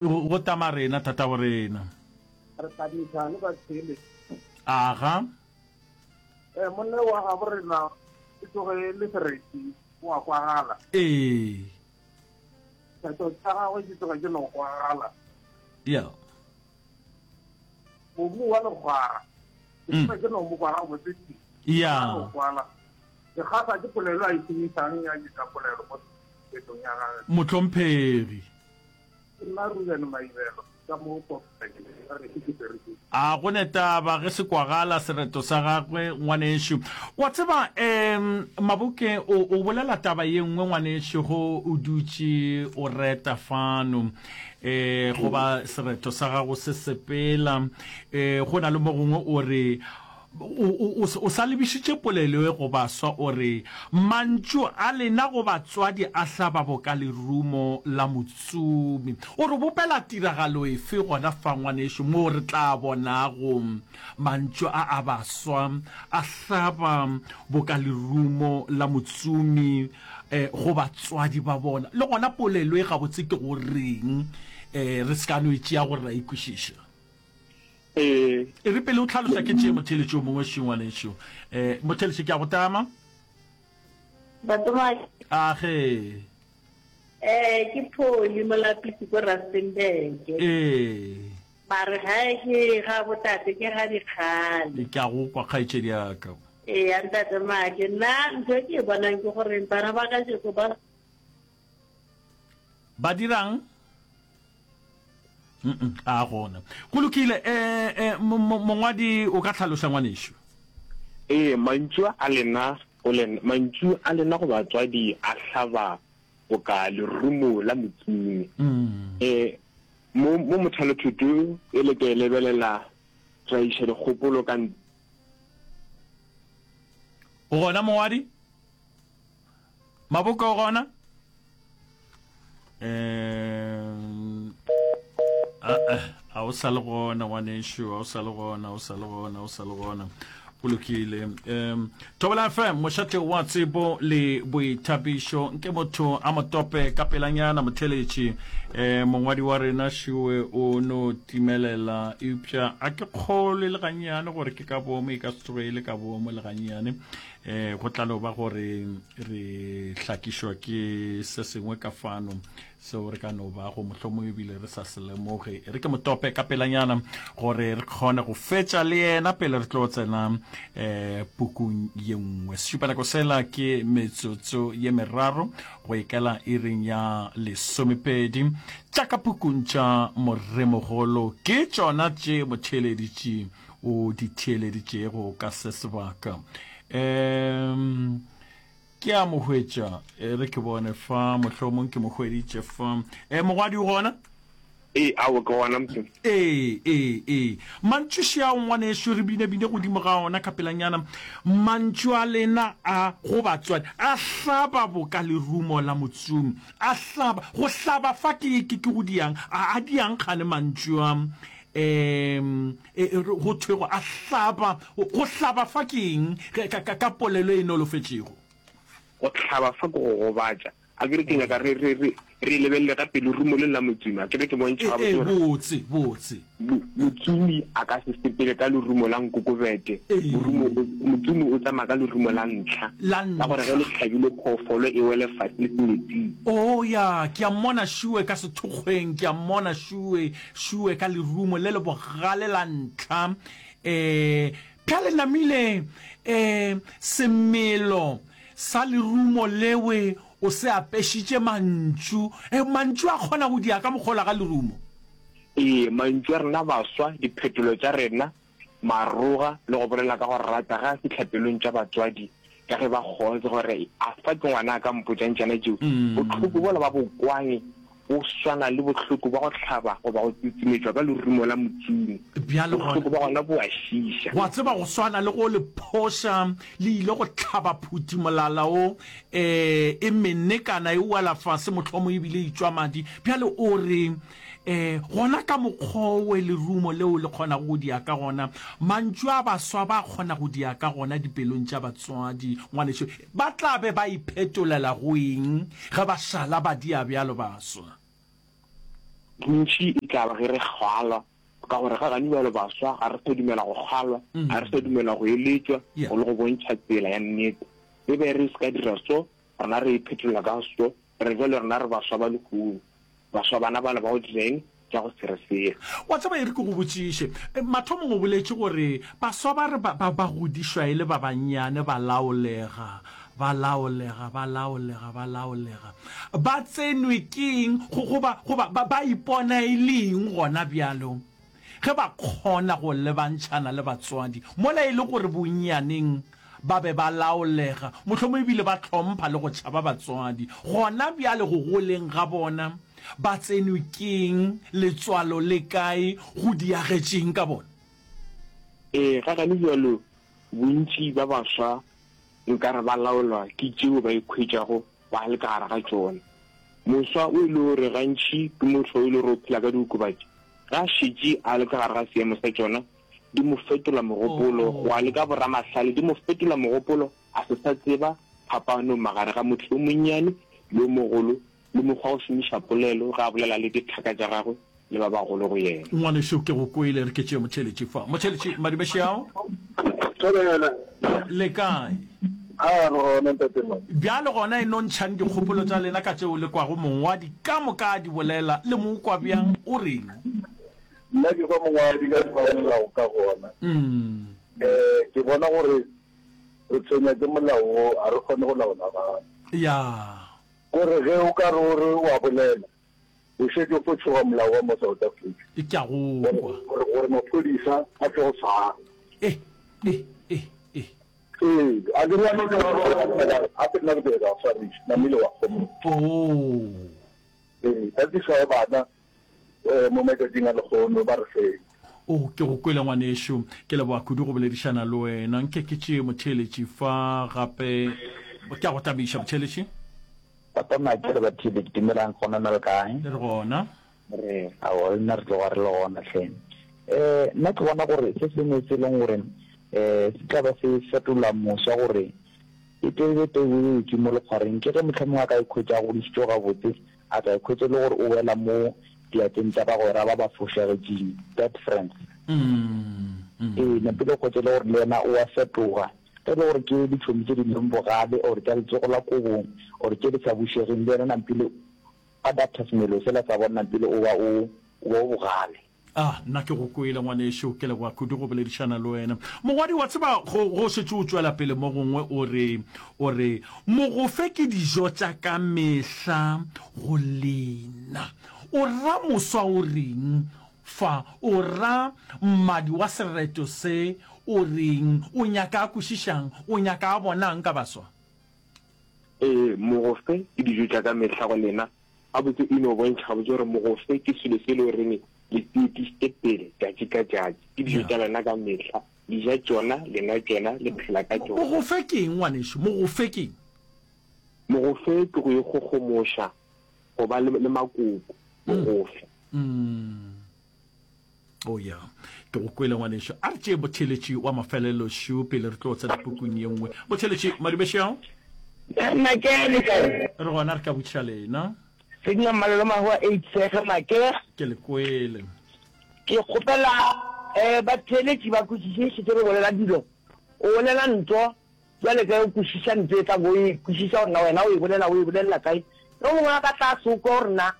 Go tama rena, tatago rena. Re tla le ba tshele. Aga. Eh, monna wa gabo rena e tloge e le sereti, o a kwagala. Ee. Theto tša gagwe di tloge di no kwagala. Ya. Mobu wa lekgwara. Ke mm. tloge ke no mo kwa gabotse. Ya. No kwala. Ke kgahla ke polelo a e šomišang ya dikapolelo mo thetong ya gagwe. Mohlomphegi. Ke nna Ruben Maibelo ka mo Kokstad, ga gešo ke Bergin. A go ne taba ge se kwagala sereto sa gagwe ngwanešu. Wa tseba um Maboke o, o bolela taba ye nngwe ngwanešu go o dutše o reta fano um goba sereto sa gago se sepela um go na le mo gongwe o re O, o, o sa lebišitše polelo ye go baswa, o re, Mantšu a lena go batswadi a hlaba boka lerumo la motsomi. O re bopela tiragalo efe gona fa, ngwanešu, moo re tla bonago mantšu a a baswa a hlaba boka lerumo la motsomi eh, go batswadi ba bona? Le gona polelo e gabotse ke go reng? Eh, re se ka no e tšea gore ra e kwešiša. Ee. E re pele o tlhalosa ke tšee motheeletši o mongwe še ngwanešu. Eh, motheeletši ke a go tama. Batsomadi. A ge. Eh, ke Pholi Molapisi ko Rustenburg. Ee. Mare gae ke ga botate ke ga dikgale. Ke a go kwa kgaetšedi ya ka. Ee, ya ntate Make. Nna ntho e ke e bonang ke gore bana ba kajeko ba Ba dirang? A gona. Go lokile, eh, eh, mongwadi o ka hlaloša ngwanešu. Ee, mantšu a lena go lena, mantšu a lena go batswadi a hlaba boka lerumo la motsomi. Ee, mo, mo mothalothuto e le ke e lebelela, ra iša dikgopolo ka. O gona mongwadi? Maboka o gona? Um, a o sa le gona ngwanešu, a o sa le gona, a o sa le gona, a o sa le gona. Go lokile. Um, Thobela FM, mošate wa tsebo le boithabišo. Nke motho a mo tope ka pelanyana motheletši. Um, mongwadi wa rena šiwe o no timelela, eupša a ke kgolwe le gannyane gore ke ka boomo, e ka se tsoge e le ka boomo le gannyane. E, go tla no ba gore re hlakišwa ke se sengwe ka fano seo re ka no bago mohlomong ebile re sa se lemoge. E re ke motope ka pelanyana gore re kgone go fetša le yena pele re tlo tsena um pukung ye nngwe. Sešupanako sela ke metsotso ye meraro go ikela iring ya lesomepedi. Tša ka pukung tša Moremogolo ke tšona tše motheeleditši o di theeleditšego ka se sebaka. Um ke a mo hwetša, e re ke bone fa, mohlomong ke mo hweditše fa. E, mogwadi o gona? Ee, aowa, ke gona motho. Ee, ee, ee. Mantšu šeao ngwanešu, re binabine godimo ga ona ka pelanyana. Mantšu a lena a go batswadi a hlaba boka lerumo la motsomi. A hlaba, go hlaba fa ke, ke, ke go diang? A, a diang kgane mantšu a? Um E, e, go thwego a hlaba, go hlaba fa ke eng ka, ka, ka polelo e nolofetšego? Go hlaba fa ke go gobatša. A ke re ke nyaka re, re, re, re lebelele gape lerumo le la motsomi. A ke re ke bontšha gabotse gore. Botse, botse. Motsomi a ka se sepele ka lerumo la nkokobete. Morumo, motsomi o tsamaya ka lerumo la ntlha. La ntlha. Ka gore ge le hlabile phoofolo e wele fase le metsing. Oh, ya, ke a mmona Šue ka sethokgweng, ke a mmona Šue. Šue ka lerumo le le bogale la ntlha, e, bjale namile, e, semelo sa lerumo lewe o se apešitše mantšu. E, mantšu a kgona go dia ka mokgola ga lerumo. Ee, mantšu a rena baswa, diphetolo tša rena, maroga le go bolela ka go rata ge a fihla pelong tša batswadi ka ge ba kgotse gore a fa ke ngwana a ka mpotšang tšana tšeo. Bohloko bola ba bokwang bo swana le bohloko bja go hlaba goba go tsutsimetšwa ka lerumo la motsomi. Bjale gona, Bohloko bja gona bo a šiiša. Wa tseba, go swana le go le phoša le ile go hlaba phuti molala o e, e menekana e wela fase mohlomong ebile e tšwa madi. Bjale o re, Ee, gona ka mokgwa owe lerumo leo le kgonago go dia ka gona, mantšu a baswa ba kgona go dia ka gona dipelong tša batswadi. Ngwanešu, ba tla be ba iphetolela go eng ge ba šala ba dia bjalo baswa? Bontši e tla ba ge re kgalwa, ka gore ga gane bjalo baswa ga re sa dumela go kgalwa, ga re sa dumela go eletšwa go le go bontšha tsela ya nnete. E be re se ka dira so, rena re iphetola ka so, re bjalo rena re baswa ba lehono. Baswa bana bale ba go dira eng? Tša go se re selo. Wa tseba, e re ke go botšiše. Mathomong o boletše gore baswa ba re ba, ba, ba godišwa e le ba bannyane, ba laolega, ba laolega, ba laolega, ba laolega. Ba tsenwe ke eng, go, goba, goba ba, ba ipona e le eng gona bjalo, ge ba kgona go lebantšhana le batswadi, mola e le gore bonnyaneng ba be ba laolega, mohlomongwe e bile ba hlompha le go tšhaba batswadi. Gona bjale go goleng ga bona, ba tsenwe ke'ng, letswalo le kae, go diagetše'ng ka bona? Ee, ga gane bjalo, bontši ba baswa nkare ba laolwa ke tšeo ba ikhwetšago ba le ka gare ga tšona. Moswa o e le gore gantši ke motho o e le gore o phela ka diokobatši, ge a šetše a le ka gare ga seemo sa tšona, di mo fetola mogopolo, gwa le ka boramahlale, di mo fetola mogopolo, a se sa tseba phapano magare ga motho yo monnyane le yo mogolo, le mokgwa wa go šomiša polelo ge a bolela le dithaka tša gagwe le ba bagolo go yena. Ngwanešu, ke go kwele. Re ke tšee motheeletši fa. Motheeletši, Madibeši ao. Thobela. Le kae? A, re gona, Ntate Madi. Bjale gona e no ntšhang dikgopolo tša lena ka tšeo le kwago mongwadi ka moka a di bolela. Le mo kwa bjang? O reng? Nna ke kwa mongwadi ka tshwanelago ka gona. Um ke bona gore re tshwenya ke molao wo, ga re kgone go laola bana. Ya. Kore ge o ka re o re o a bolela, o šetše o fo tšhoga molao wa mo South Africa. Ke a go kwa. Gore, gore maphodisa a tlo go tshwara. Eh, eh, eh, eh. Ee, a ke re ya no tla ba ba a ke nna ke tlo ba tshwariša, namile wa kgomo. Oh. Ee, tatišo ya bana mo matšatšing a lekgono ba re feng. O, ke go kwele ngwanešu. Ke leboga kudu go boledišana le wena. Nke ke tšee motheeletši fa gape. Ke a go thabiša, motheeletši. Papa Mike le batheeletši, dumelang gona na le kae? Re gona. Re, aowa, le nna re tloga re le gona hle. Um nna ke bona gore se sengwe se e leng gore um se tla ba se fetola moswa gore e tebe peu e wetše mo lekgwareng ke ge mohlomongwe a ka ikhwetša a godišitšwe gabotse A tla ikhwetša e le gore o wela mo diatleng tša bagwera ba ba fošagetšeng, bad friends. Ee, napile o hwetša e le gore le yena o a fetoga. Ge e le gore ke ditšhomi tše di leng bogale or tša letsogo la kobong or tše di sa bušegeng, le yena nampile o adapta semelo sela sa bona, nampile o ba o o ba o bogale. A, nna ke go kwele, ngwanešu. Ke leboga kudu go boledišana le wena. Mongwadi, wa tseba, go, go šetše o tšwela pele mo gongwe o re, o re, Mogofe ke dijo tša ka mehla go lena. O ra moswa o reng fa? O ra mmadi wa sereto se o reng? O nyaka a kwešišang? O nyaka a bonang ka baswa? Ee, mogofe ke dijo tša ka mehla go lena. Gabotse e no bontšha gabotse gore mogofe ke selo se e le goreng le se etišitše pele tšatši ka tšatši. Ke dijo tša lena ka mehla. Le ja tšona, le nwa tšona, le phela ka tšona. Mogofe ke eng, ngwanešu? Mogofe ke eng? Mogofe ke go ikgogomoša, go ba le, le makoko. Mogofe. Oh ya, ke go kwele ngwanešu. A re tšee motheeletši wa mafelelo šu pele re tlo tsena pukung ye nngwe. Motheeletši, Madumešeo. Make le kae? Re gona re ka botšiša lena. Senior Mmalelo Mahoa a tshege Make. Ke le kwele. Ke kgopela eh batheeletši ba kwešiše šetše re bolela dilo. O bolela nto bjale ge o kwešiša nto e tla bo e kwešiša gore na wena o e bolela o e bolelela kae. Yo mongwe a ka tla se o kwe gore na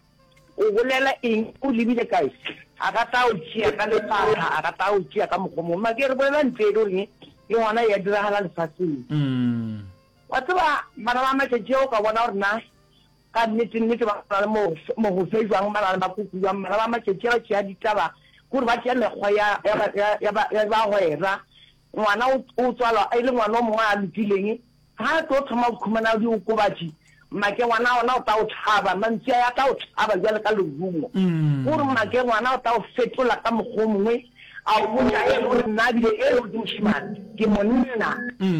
O bolela eng? O lebile kae? A ka tla o tšea ka lefatla, a ka tla o tšea ka mokgwa o mongwe. Make re bolela ntho e le goreng le gona e a diragala lefaseng. Wa tseba, bana ba matšatši a o ka bona gore na ka nnete nnete ba na le mogofe jwang, ba na le makoko jwang. Bana ba matšatši a ba tšea ditaba, ke gore ba tšea mekgwa ya, ya, ya, ya, ya bagwera. Ngwana o, o tswalwa e le ngwana o mongwe a lokileng, Ga a tlo thoma go khumana diokobatši, make ngwana ona o tla o tšhaba, mantšu a a tla o tšhaba bjale ka lerumo. O re make ngwana o tla o fetola ka mokgwa o mongwe, a o botša e le gore nna bile e le gore ke mošemane, ke monna,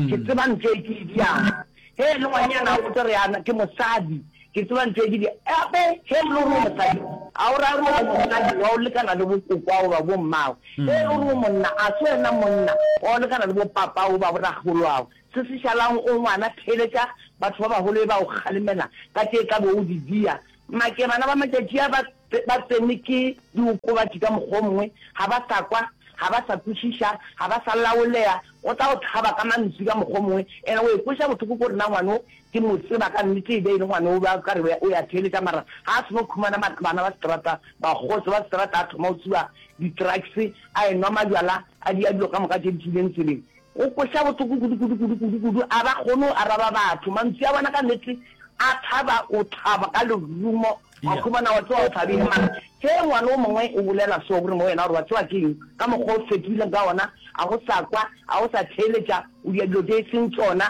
ke tseba ntho e ke e diang. Ge e le ngwanyana o tlo re ana ke mosadi, ke tseba ntho e ke di. Gape ge e le gore o mosadi, a o ra gore o mosadi wa o lekana le bokokoago goba bommago. Ge e le gore o monna, a se wena monna wa o lekana le bopapago goba borakgoloago. Se se šalago o ngwana, theeletša batho ba bagolo e ba o kgalemela ka tše tla bo o di dia. Make bana ba matšatši a ba. ba tsenwe ke diokobatši ka mokgwa o mongwe, ga ba sa kwa, ga ba sa kwešiša, ga ba sa laoleya, o tla go hlaba ka mantswi ka mokgwa o mongwe, and o ikweša bohloko ko re na ngwana o ke mo tseba ka nnete e be e le ngwana o be a ka re o ya theeletša mara ga a seno khumana bana ba seterata, bakgotse ba seterata a thoma go tsuba di-drugs, a enwa majwala, a dia dilo ka moka tše di tšwileng tseleng. Go kweša bohloko kudu, kudu, kudu, kudu, kudu. A ba kgone go araba batho. Mantšu a bona ka nnete a thaba, o thaba ka lerumo, wa khumana wa tseba o thabile. Mara ge ngwana o mongwe o bolela so gore mo wena gore wa tseba ke eng, ka mokgwa o fetogileng ka ona, a go sa kwa, a go sa theeletša, o dia dilo tše e seng tšona.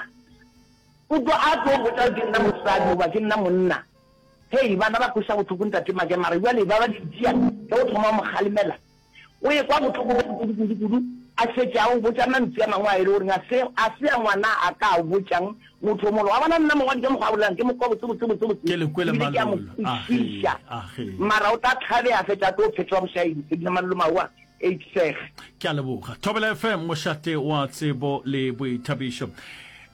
O tlo a tlo botša gore ke nna mosadi goba ke nna monna. Hei, bana ba kweša bohloko Ntate Make, mara bjale ba ba di tšea ge o thoma go mo kgalemela. O ekwa bohloko kudu, kudu, kudu, a šetše a go botša mantšu a mangwe a e le goreng a se, a se a ngwana a ka a botšang motho o mongwe. Wa bona, nna mongwadi ka mokgwa a bolelang, ke mo kwa botse, botse, botse, botse, Ke le kwele ebile ke a mo Malolo. Age, kwešiša. age. Mara o tla tlhabea a fetša a tlo phetšwa bošaedi. Sedina Malolo Maoa, Eidseg. Ke a leboga. Thobela FM, mošate wa tsebo le boithabišo.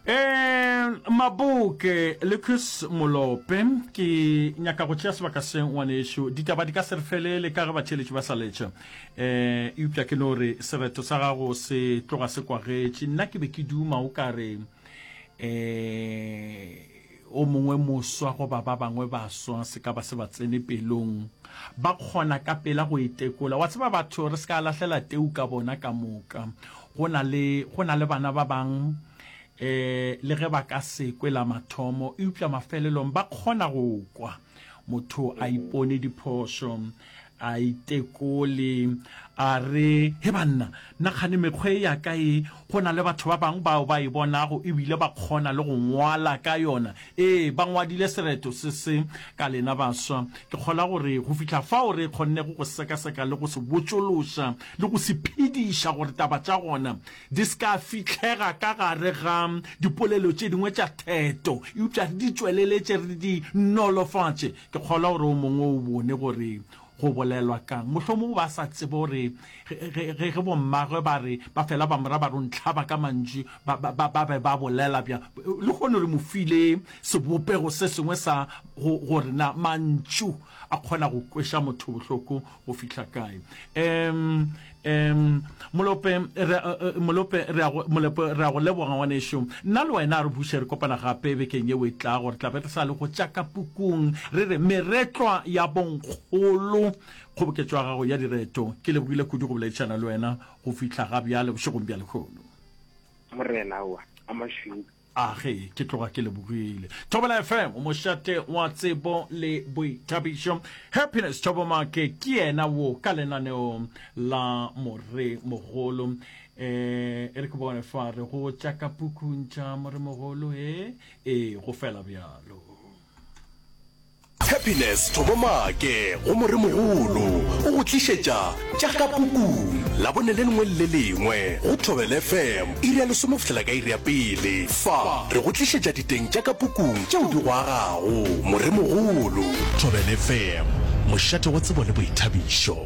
Um Maboke, Lucas Molope, ke nyaka go tšea sebaka se ngwanešu. Ditaba di ka se re felele ka ge batheeletši ba sa letša. Um eupša ke no re sereto sa gago se tloga se kwagetše. Nna ke be ke duma o ka re um o mongwe moswa goba ba bangwe baswa se ka ba se ba tsene pelong, ba kgona ka pela go itekola. Wa tseba batho re se ka lahlela teu ka bona ka moka. Go na le, go na le bana ba bang eh le ge ba ka se kwe la mathomo, eupša mafelelong ba kgona go kwa. Motho a ipone diphošo, a itekole, a re, He banna, nna kgane mekgwa e ya ka e, go na le batho ba bangwe bao ba e bonago ebile ba kgona le go ngwala ka yona. Ee, ba ngwadile sereto se se ka lena baswa. Ke kgolwa gore go fihla fao re kgonnego go sekaseka le go se botšološa le go se phediša gore taba tša gona di se ka fihlega ka gare ga dipolelo tše dingwe tša theto, eupša re di tšweleletše re di nolofatše. Ke kgolwa gore o mongwe o bone gore go bolelwa ka'ng. Mohlomongwe ba sa tsebe gore ge, ge, ge bommagwe ba re, ba fela ba mo ra ba re o ntlhaba ka mantšu, ba, ba, ba, ba be ba bolela bjang. Lehono re mo file sebopego se sengwe sa go, gore na mantšu a kgona go kweša motho bohloko go fihla kae. Um, um, Molope, re, Molope, re a go, Molope, re a go leboga ngwanešu. Nna le wena re buše re kopana gape bekeng yeo e tlago. Re tla be re sa le go tša ka pukung, re re Meretlwa ya Bonkgolo, kgoboketšo ya gago ya direto. Ke lebogile kudu go boledišana le wena go fihla ga bjale bošegong bja lehono. Morena wa a mašweu. A ge ke tloga ke lebogile. Thobela FM, mošate wa tsebo le boithabišo. Happiness Thobomake ke yena wo ka lenaneo la Moremogolo. Eh, e re ke bone fa re go tša ka pukung tša Moremogolo, e, e, go fela bjalo. Happiness Thobomake go Moremogolo o go tlišetša tša ka pukung Labone le lengwe le le lengwe go Thobela FM iri ya lesome go fihlela ka iri ya pele. Fa re go tlišetša diteng tša ka pukung tšeo di go agago. Moremogolo. Thobela FM, mošate wa tsebo le boithabišo.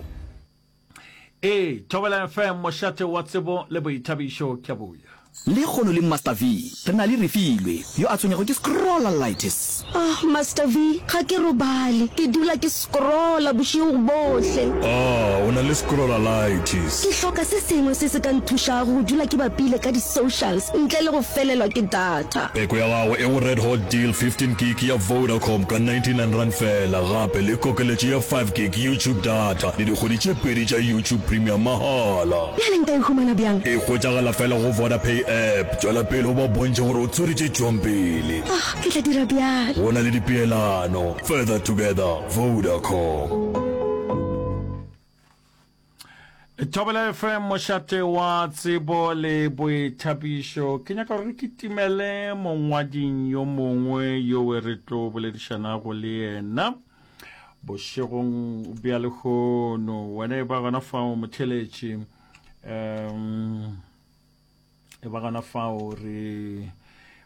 Ee, Thobela FM, mošate wa tsebo le boithabišo. Ke a boya. Lekgono le Master V, re na le Refilwe, yo a tshwenyago ke scrollalitis. Ah, Master V, ga ke robale. Ke dula ke scrolla bošego bohle. Ah, o na le scrollalitis. Ke hloka se sengwe se se ka nthušago go dula ke bapile ka di-socials ntle le go felelwa ke data. Peko ya gago e go Red Hot Deal 15 gig ya Vodacom ka R99 feela, gape le kokeletšo ya 5 gig YouTube data le dikgwedi tše pedi tša YouTube Premium mahala. Bjale nka e humana bjang? E hwetšagala feela go Vodapay app. Tšwela pele o ba bontšhe gore o tswere tše tšwang pele. Ah, ke tla dira bjalo. Go na le dipeelano. Further together, Vodacom. Thobela FM mošate wa tsebo le boithabišo. Ke nyaka gore re kitimele mongwading yo mongwe yowe re tlo boledišanago le yena bošegong bja lehono. Wena e ba gona fao motheletši. Um E ba gona fao re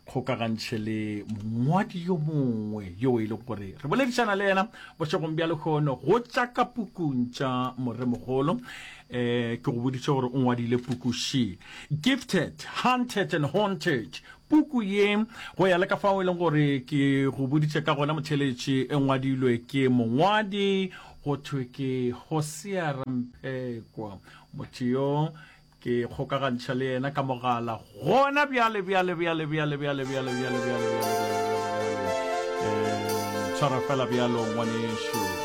kgokagantšhe le mongwadi yo mongwe yo e leng gore re boledišana le yena bošegong bja lehono go tša ka pukung tša moremogolo. Um ke go boditše gore o ngwadile puku she, Gifted, Hunted and Haunted. Puku ye, go ya le ka fao e leng gore ke go boditše ka gona motheeletši, e ngwadilwe ke mongwadi go thwe ke Hosea Ramphekwa. Motho yo ke kgokagantšha le yena ka mogala gona bjale bjale bjale bjale bjale bjale bjale bjale bjale bjale bjale. Eh, tshwara fela bjalo ngwanešu.